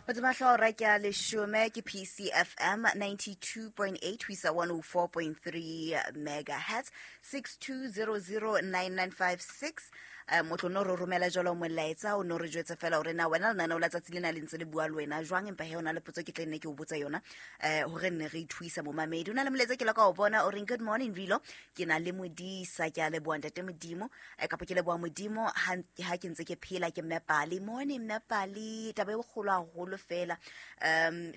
Hodima hlooho ke a leshome ke PCFM 92.8 ho isa 104.3 megahertz 62009956. Motho no re romela jalo molaetsa o no re jwetse fela hore na wena lenaneo la tsatsi lena le ntse le bua le wena jwang, empa he o na le potso ke tle nne ke o botsa yona hore nne re ithuisa momamedi. O na le molaetsa ke la ka o bona o reng good morning Rilo, ke na le modisa, ke a leboha ntate Modimo, kapa ke leboha Modimo ha ke ntse ke phela ke Mme Pali. Morning Mme Pali, taba e bokgolo haholo fela,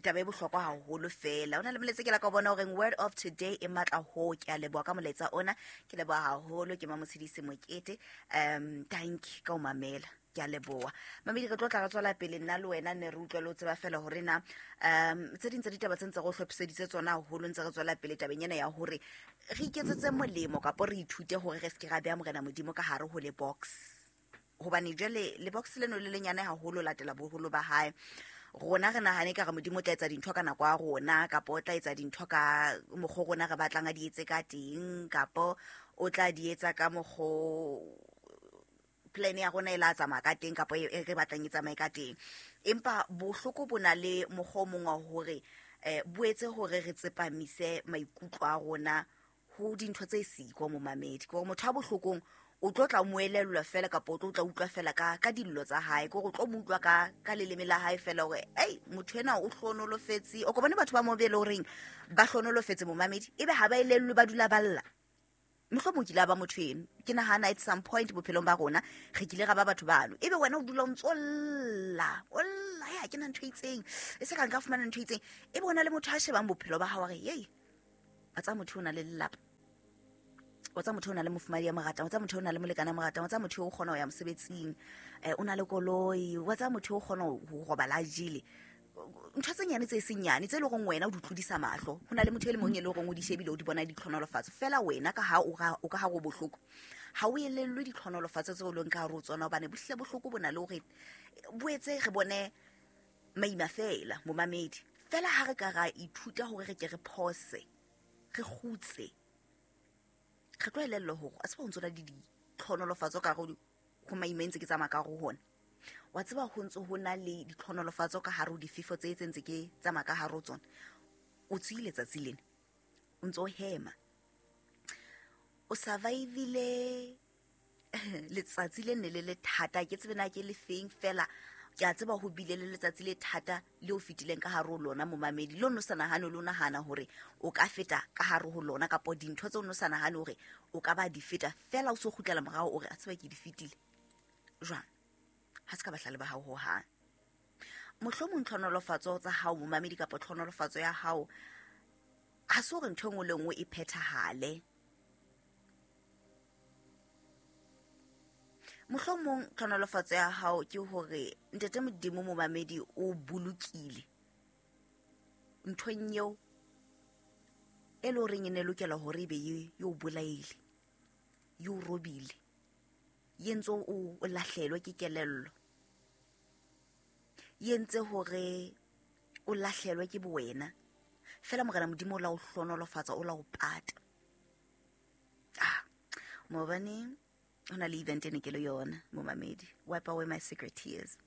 taba e bohlokwa haholo fela. O na le molaetsa ke la ka o bona o reng word of today e matla ho, ke a leboha ka molaetsa ona, ke leboha haholo ke Mamotshedisi Mokete. Thank you ka o mamela, ke a leboha. Mamedi, re tlo tla re tswela pele nna le wena ne re utlwe le o tseba fela hore na tse ding tsa ditaba tse ntse re o hlophiseditse tsona haholo, ntse re tswela pele tabeng ena ya hore re iketsetse molemo kapo re ithute hore re se ke ra beha Morena Modimo ka hare ho le box, hobane jwale le box leno le lenyane haholo latela boholo ba hae. Rona re nahane ka re Modimo o tla etsa dintho ka nako ya rona, kapo o tla etsa dintho ka mokgwa rona re batlang a di etse ka teng, kapo o tla di etsa ka mokgwa plan ya rona e la tsamaya ka teng, kapo e re batlang e tsamaye ka teng. Empa bohloko bo na le mokgwa o mong wa hore bo etse hore re tsepamise maikutlo a rona ho dintho tse siko momamedi. Ke hore motho a bohlokong o tlo tla mo elellwa fela, kapa o tlo tla utlwa fela ka dillo tsa hae, ke hore o tlo mo utlwa ka leleme la hae fela hore ei motho ena o hlonolofetse. O ko bone batho ba mo be le horeng ba hlonolofetse momamedi, ebe ha ba elellwe ba dula ba lla. Mohlomong kile a ba motho eno, ke nahana at some point bophelong ba rona re kile ra ba batho bano, ebe wena o dula o ntso lla, o lla, ya ke na ntho e itseng, e se ka nka fumana ntho e itseng, ebe o na le motho a shebang bophelo ba hao a re yei wa tseba motho o na le lelapa, wa tseba motho o na le mofumadi ya mo ratang, wa tseba motho o na le molekane ya mo ratang, wa tseba motho o kgona ho ya mosebetsing, o na le koloi, wa tseba motho o kgona ho robala a jele. Ntho tse nyane tse seng nyane tse leng hore wena o di tlodisa mahlo, ho na le motho e le mong e leng hore o di shebile o di bona ditlhonolofatso fela, wena ka ha o ka ha o bohloko ha o elellwe ditlhonolofatso tseo o leng ka hare ho tsona, hobane bohle bohloko bo na le hore bo etse re bone maima fela momamedi. Fela ha re ka ra ithuta hore re ke re phose, re kgutse, re tlo elellwa hore a tseba ho ntso na le ditlhonolofatso ka hare ho maima e ntse ke tsamaya ka hare ho hona. Wa tseba ho ntso ho na le ditlhonolofatso ka hare ho difefo tse tse ntse ke tsamaya ka hare ho tsona. O tswile tsatsi lena, o ntso hema, o survivile letsatsi le ne le le thata, ke tsebe na ke le feng fela, ke a tseba ho bile le letsatsi le thata le o fetileng ka hare ho lona momamedi, le o no sa nahane le o nahana hore o ka feta ka hare ho lona, kapo dintho tse o no sa nahane hore o ka ba di feta fela, o so kgutlela morao o re a tseba ke di fetile jwang, ha se ka bahlale ba hao hohang. Mohlomong tlhonolofatso tsa hao momamedi, kapa tlhonolofatso ya hao ha se hore ntho e nngwe le nngwe e phethahale. Mohlomong tlhonolofatso ya hao ke hore ntate Modimo momamedi o bolokile nthong eo e le horeng e ne lokela hore ebe e o bolaile, e o robile, e entse o lahlelwe ke kelello, e entse hore o lahlelwe ke bowena. Fela Morena Modimo o la o hlonolofatsa, o la o pata. Maobane ho na le event e ne ke le yona momamedi, wipe away my secret tears.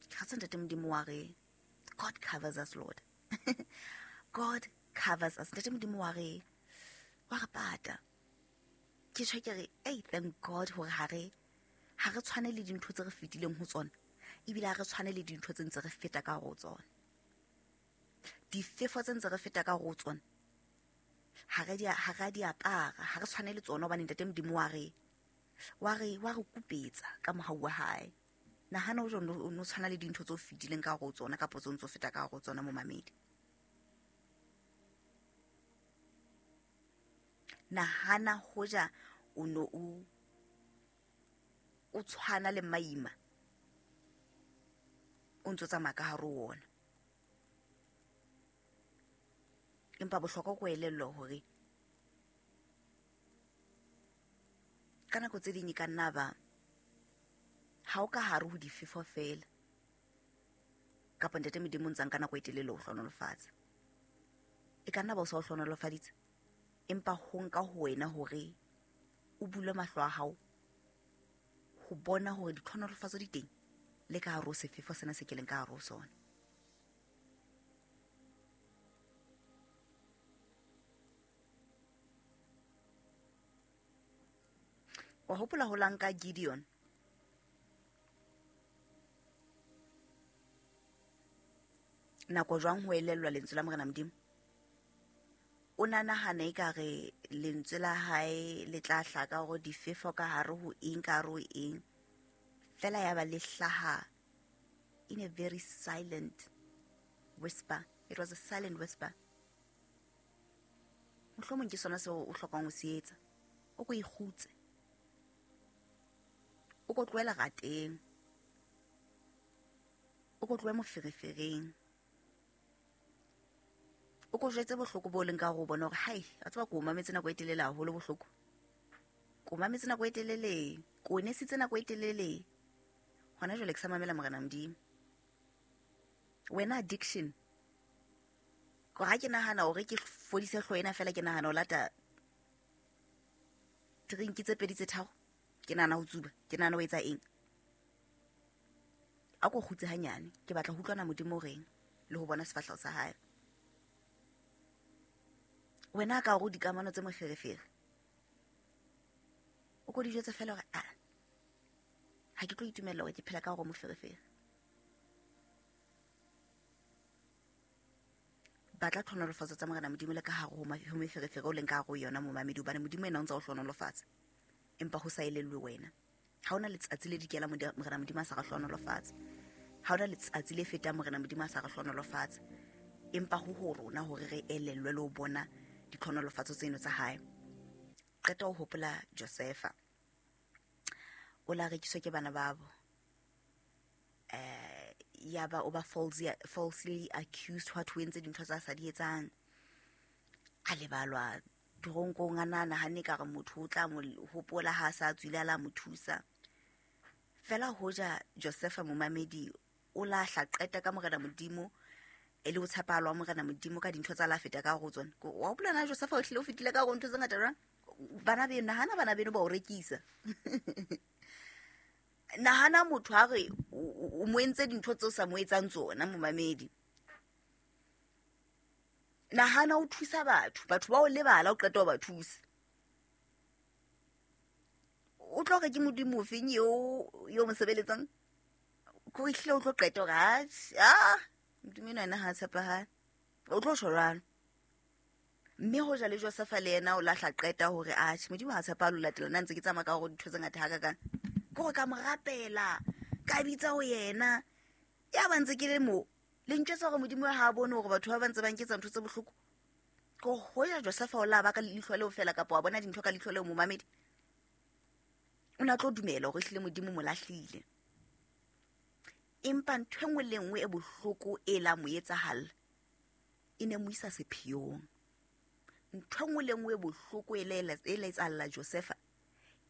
Ke kgatsa ntate Modimo wa re God covers us, Lord. God covers us. Ntate Modimo wa re pata. Ke tjho ke re hey, thank God hore ha re tshwane le dintho tse re fetileng ho tsona, ebile ha re tshwane le dintho tse ntse re feta ka hare ho tsona. Difefo tse ntse re feta ka hare ho tsona ha re di apara, ha re tshwane le tsona, hobane ntate Modimo wa re kupetsa ka mohau wa hae. Nahana o no tshwana le dintho tse o fetileng ka hare ho tsona, kapa tse o ntso feta ka hare ho tsona momamedi. Nahana hoja o no o tshwana le maima o ntso tsamaya ka hare ho ona. Empa bohlokwa ko elellwa hore ka nako tse ding e ka nna ba ha o ka hare ho difefo fela, kapa ntate Modimo o ntsang ka nako e telele o hlonolofatsa, e ka nna ba o sa o hlonolofaditse, empa ho nka ho wena hore o bule mahlo a hao ho bona hore ditlhonolofatso di teng Le ka hare ho sefefo sena se ke leng ka hare ho sona. Wa hopola ho la nka Gideon? Nako jwang ho elellwa lentswe la Morena Modimo? O na nahana ekare lentswe la hae le tla hlaka hore difefo ka hare ho eng, ka hare ho eng. Fela ya ba le hlaha in a very silent whisper. It was a silent whisper. Mohlomong ke sona seo o hlokang ho se etsa. O ko ikgutse. O ko tlohela rateng. O ko tlohe moferefereng. O ko jwetse bohloko bo leng ka hore o bone hore hai, a tseba ko mametse nako e telele haholo bohloko. Ko mametse nako e telele, ko nesitse nako e telele. Hona jwale ke sa mamela Morena Modimo. Wena addiction. Ko ha ke nahana hore ke fodise hlooho ena fela, ke nahana ho lata drink tse pedi tse tharo. Ke nahana ho tsuba, ke nahana ho etsa eng. A ko kgutse hanyane, ke batla ho utlwana Modimo o reng le ho bona sefahleho sa hae. Wena ka hore dikamano tse moferefere. O ko di jwetse fela hore, ha ke tlo itumella hore ke phela ka hore moferefere. Batla tlhonolofatso tsa Morena Modimo le ka hare ho meferefere o leng ka hare ho yona momamedi, hobane Modimo ena o ntse o hlonolofatsa. Empa ho sa elellwe wena. Ha hona letsatsi le dikela Morena Modimo a sa re hlonolofatsa. Ha hona letsatsi le fetang Morena Modimo a sa re hlonolofatsa. Empa ho ho rona hore re elellwe le ho bona ditlhonolofatso tseno tsa hae. Qeta ho hopola Josefa. O la rekiswa ke bana babo. Ya ba o ba falsely accused hwa thwe entse dintho tsa sa di etsang. A lebalwa toronkong, a nahana ha ne ka re motho o tla mo hopola ha a sa tswile a la mo thusa. Fela hoja Josefa momamedi o lahla qeta ka Morena Modimo e le ho tshepahala wa Morena Modimo ka dintho tsa la feta ka ho tsona. Wa hopola na Josefa o hlile o fetile ka ho ntho tse ngata jwang? Bana beno, nahana bana beno ba o rekisa. Nahana motho ha re o mo entse dintho tseo sa mo etsang tsona momamedi. Nahana o thusa batho, batho ba o lebala o qeta ho ba thusa. O tlo re ke Modimo o feng eo mo sebeletsang? Ko ehlile o tlo qeta hore, Modimo enwa yena ha a tshepahale. O tlo tjho jwalo. Mme hoja le Josefa le yena o lahla qeta hore, atjhe, Modimo ha a tshepahale o latela nna ntse ke tsamaya ka hore dintho tse ngata hakakang. Ke hore ka mo rapela, ka bitsa ho yena. Ya ba ntse ke le moo, le ntjwetsa hore Modimo ha a bone hore batho ba ba ntse ba nketsa ntho tse bohloko. Ke hoja Josefa o la ba ka leihlo leo fela kapa wa bona dintho ka leihlo leo momamedi. O na tlo dumela hore ehlile Modimo mo lahlile. Empa ntho e nngwe le nngwe e bohloko e la mo etsahalla e ne mo isa sepheong. Ntho e nngwe le nngwe e bohloko e la etsahalla Josefa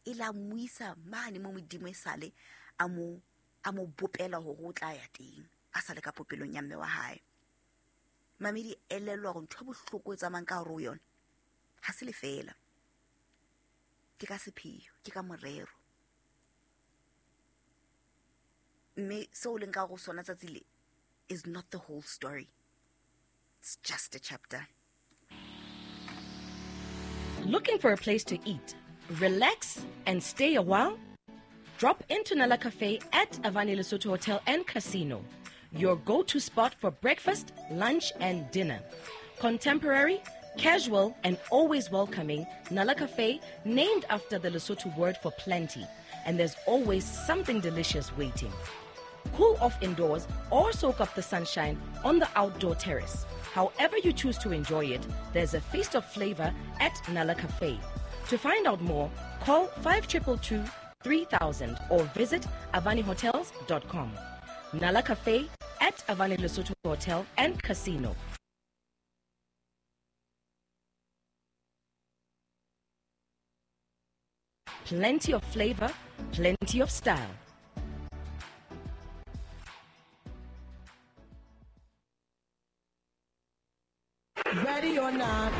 e la mo isa mane mo Modimo e sale a mo bopela hore o tla ya teng a sale ka popelong ya mme wa hae. Mamedi, elellwa hore ntho e bohloko e tsamayang ka hare ho yona ha se lefeela. Ke ka sepheo, ke ka morero. Mme seo leng ka hare ho sona tsatsi le is not the whole story. It's just a chapter. Looking for a place to eat, relax, and stay a while? Drop into Nala Cafe at Avani Lesotho Hotel and Casino, your go-to spot for breakfast, lunch, and dinner. Contemporary, casual, and always welcoming, Nala Cafe, named after the Lesotho word for plenty, and there's always something delicious waiting. Cool off indoors or soak up the sunshine on the outdoor terrace. However you choose to enjoy it, there's a feast of flavor at Nala Cafe. To find out more, call 5222 3000 or visit avanihotels.com. Nala Cafe at Avani Lesotho Hotel and Casino. Plenty of flavor, plenty of style. Ready or not,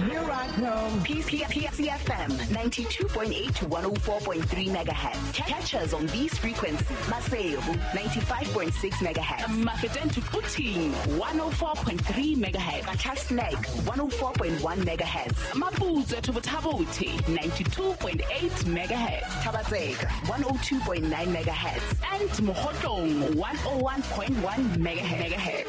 here I come. PCFM 92.8 to 104.3 megahertz. Catch us on these frequencies. Maseru 95.6 megahertz. Mafeteng to Quthing 104.3 megahertz. Qacha's Nek 104.1 megahertz. Maputswe to Botha-Bothe 92.8 megahertz. Thaba-Tseka 102.9 megahertz. And Mokhotlong 101.1 megahertz.